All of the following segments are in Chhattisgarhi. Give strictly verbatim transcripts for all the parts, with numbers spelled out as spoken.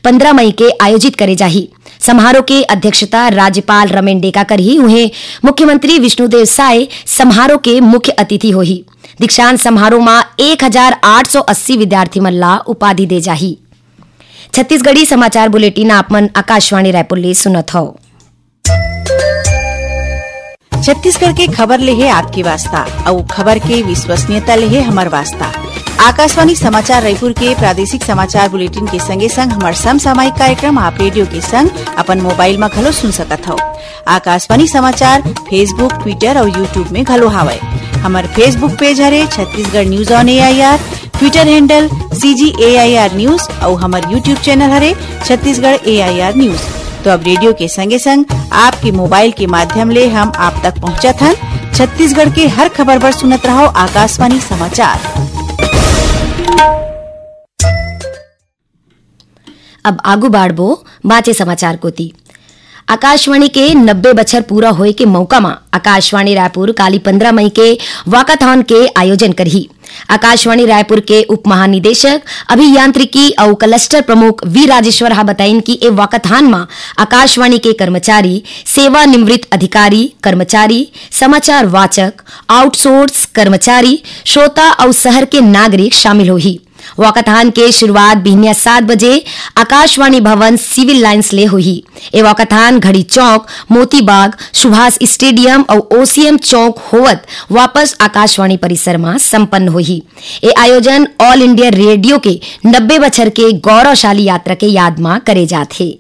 पंद्रह मई के आयोजित करे जाही। समारोह के अध्यक्षता राज्यपाल रमेन डेका करही। उहें, मुख्यमंत्री विष्णुदेव साय समारोह के मुख्य अतिथि होही। दीक्षांत समारोह म एक हजार आठ सौ अस्सी विद्यार्थी मन ला उपाधि दे जाही। छत्तीसगढ़ी समाचार बुलेटिन आप मन आकाशवाणी रायपुर ले सुनत हव। छत्तीसगढ़ के खबर ले हे आपके वास्ता, अउ खबर के विश्वसनीयता ले हे हमर वास्ता। आकाशवाणी समाचार रायपुर के प्रादेशिक समाचार बुलेटिन के संगे संग हमर समसामयिक कार्यक्रम आप रेडियो के संग अपन मोबाइल म घलो सुन सकत हव। आकाशवाणी समाचार Facebook, Twitter अउ YouTube में घलो हावय। हमर Facebook पेज हरे Chhattisgarh news on AIR, Twitter handle CG AIR news अउ हमर YouTube चैनल हरे छत्तीसगढ़ एआईआर न्यूज। तो अब रेडियो के संगे संग आपके मोबाइल के माध्यम ले हम आप तक पहुंचत हन। छत्तीसगढ़ के हर खबर बर सुनत रहव आकाशवाणी समाचार। अब आगू बाढ़बो बाचे समाचार कोती। आकाशवाणी के नब्बे बछर पूरा होए के मौका म आकाशवाणी रायपुर काली पंद्रह मई के वॉकाथॉन के आयोजन करही। आकाशवाणी रायपुर के उप महानिदेशक अभियांत्रिकी अउ क्लस्टर प्रमुख वी राजेश्वर हा बताइन कि ए वॉकाथॉन म आकाशवाणी के कर्मचारी, सेवानिवृत्त अधिकारी, कर्मचारी, समाचार वाचक, आउटसोर्स कर्मचारी, श्रोता अउ शहर के नागरिक शामिल होही। वॉकाथॉन के शुरुआत बिहनिया सात बजे आकाशवाणी भवन सिविल लाइंस ले होही। ए वॉकाथॉन घड़ी चौक, मोती बाग, सुभाष स्टेडियम अउ ओसीएम चौक होवत वापस आकाशवाणी परिसर म संपन्न होही। ए आयोजन ऑल इंडिया रेडियो के नब्बे बछर के गौरवशाली यात्रा के याद म करे जात हे।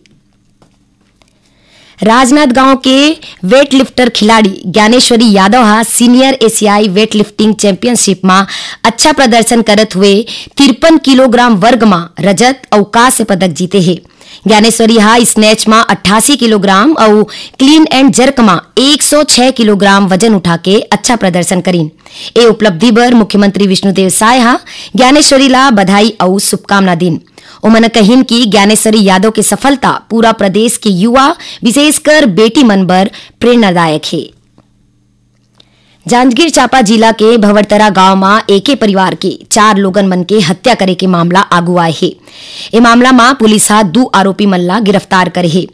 राजनांदगांव के वेटलिफ्टर खिलाड़ी ज्ञानेश्वरी यादव हा सीनियर एशियाई वेटलिफ्टिंग चैंपियनशिप म अच्छा प्रदर्शन करत हुए तिरपन किलोग्राम वर्ग म रजत अउ कांस्य पदक जीते हे। ज्ञानेश्वरी हा स्नैच म अट्ठासी किलोग्राम अउ क्लीन एंड जर्क म एक सौ छह किलोग्राम वजन उठा के अच्छा प्रदर्शन करीन। ए उपलब्धि बर मुख्यमंत्री विष्णुदेव साय हा ज्ञानेश्वरी ला बधाई अउ शुभकामना दीन। ओमन कहिन कि ज्ञानेश्वरी यादव के सफलता पूरा प्रदेश के युवा, विशेषकर बेटी मन बर प्रेरणादायक हे। जांजगीर चांपा जिला के भंवरतरा गांव म एके परिवार के चार लोगन मन के हत्या करे के मामला आगू आए हे। ए मामला म पुलिस ह दू आरोपी मन ला गिरफ्तार करे हे।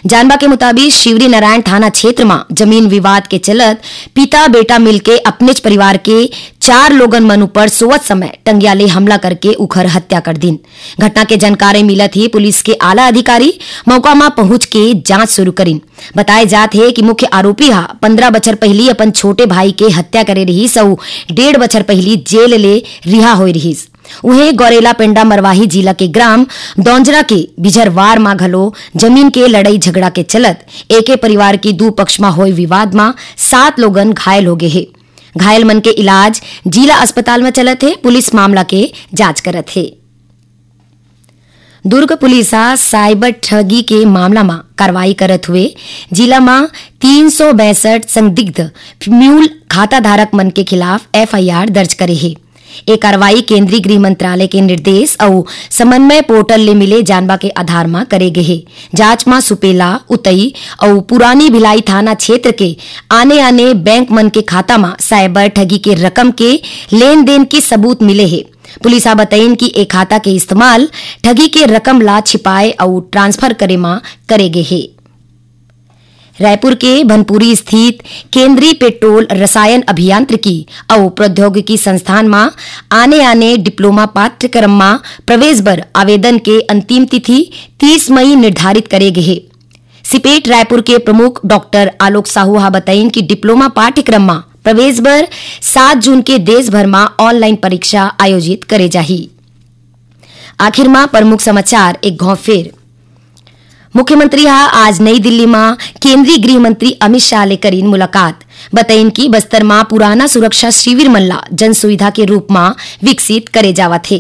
जानबा के मुताबिक, शिवरी नारायण थाना क्षेत्र म जमीन विवाद के चलत पिता बेटा मिलके अपनेच परिवार के चार लोगन मन ऊपर सोवत समय टंगिया ले हमला करके उखर हत्या कर दिन। घटना के जानकारी मिलत ही पुलिस के आला अधिकारी मौका म पहुंच के जांच शुरू करिन। बताए जात हे कि मुख्य आरोपी हा पंद्रह बछर पहिली अपन छोटे भाई के हत्या करे रिहिस अउ डेढ़ बछर पहिली जेल ले रिहा होए रिहिस। उहें, गौरेला पेंडा मरवाही जिला के ग्राम दौंजरा के बिझरवार म घलो जमीन के लड़ई झगड़ा के चलत एके परिवार के दू पक्ष म होए विवाद म सात लोगन घायल हो गे हे। घायल मन के इलाज जिला अस्पताल म चलत हे। पुलिस मामला के जांच करत हे। दुर्ग पुलिस ह साइबर ठगी के मामला म कार्रवाई करत हुए जिला म तीन सौ बैसठ संदिग्ध म्यूल खाता धारक मन के खिलाफ एफआईआर दर्ज करे हे। ए कार्रवाई केंद्रीय गृह मंत्रालय के निर्देश अउ समन्वय पोर्टल ले मिले जानबा के आधार म करे गे हे। जांच म सुपेला, उतई अउ पुरानी भिलाई थाना क्षेत्र के आने-आने बैंक मन के खाता म साइबर ठगी के रकम के लेन-देन के सबूत मिले हे। पुलिस ह बतइन कि ए खाता के इस्तेमाल ठगी के रकम ला छिपाए अउ ट्रांसफर करे म करे गे हे। रायपुर के भनपुरी स्थित केंद्रीय पेट्रोल रसायन अभियांत्रिकी अउ प्रौद्योगिकी संस्थान म आने-आने डिप्लोमा पाठ्यक्रम म प्रवेश बर आवेदन के अंतिम तिथि तीस मई निर्धारित करे गे हे। सिपेट रायपुर के प्रमुख डॉक्टर आलोक साहू ह बतइन कि डिप्लोमा पाठ्यक्रम म प्रवेश बर सात जून के देश भर म ऑनलाइन परीक्षा आयोजित करे जाही। आखिर म प्रमुख समाचार एक घौं फेर। मुख्यमंत्री ह आज नई दिल्ली म केंद्रीय गृह मंत्री अमित शाह ले करीन मुलाकात। बतइन कि बस्तर म पुराना सुरक्षा शिविर मन ला जन सुविधा के रूप म विकसित करे जावत हे।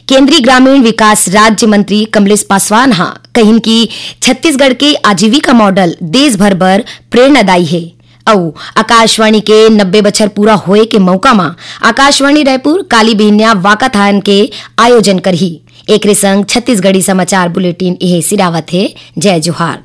केंद्रीय ग्रामीण विकास राज्य मंत्री कमलेश पासवान ह कहिन कि छत्तीसगढ़ के आजीविका मॉडल देश भर बर प्रेरणादायी हे। अउ आकाशवाणी के नब्बे बछर पूरा होए के मौका म आकाशवाणी रायपुर काली बिहनिया वाकाथान के आयोजन करही। एकरे संग छत्तीसगढ़ी समाचार बुलेटिन इहे सिरावत हे। जय जोहार।